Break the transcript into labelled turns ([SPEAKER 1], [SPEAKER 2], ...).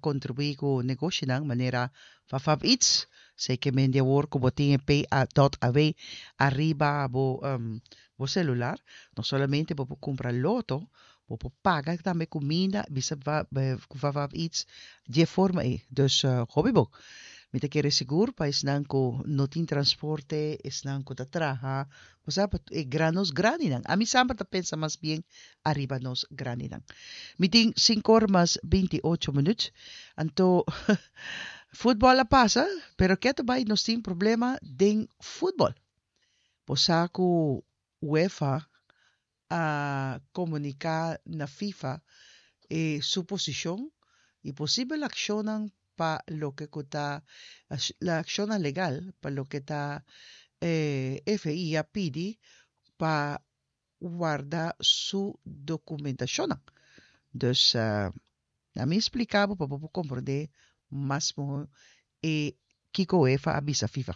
[SPEAKER 1] kontribuí ku negoshinan manera Fafab Eats. Sei ke men di awor ku bo tin e pay dot aw ariba bo bo selular, no solamente bo por kumpra loto, bo por paga tambe kuminda bisa ku Fafab Eats di e forma ei. Dus hopi bo. Mi ta kere sigur pa esnan ku no tin transporte, esnan ku ta traha, bo sa pa e gran nos grandinan. Ami semper ta pensa mas bien ariba nos grandinan. Mi tin sinkor mas 28 minuut. Anto futbol a pasa, pero ketu bai nos tin problema den futbol. Bo sa ku UEFA a komuniká na FIFA e su posishon i posibel akshonnan pa loke ku ta akshonnan legal pa loke ta FI a pidi pa warda su dokumentashonnan. Dus ami splika bo pa bo por komprondé mas mihó e kiko UEFA a bisa FIFA.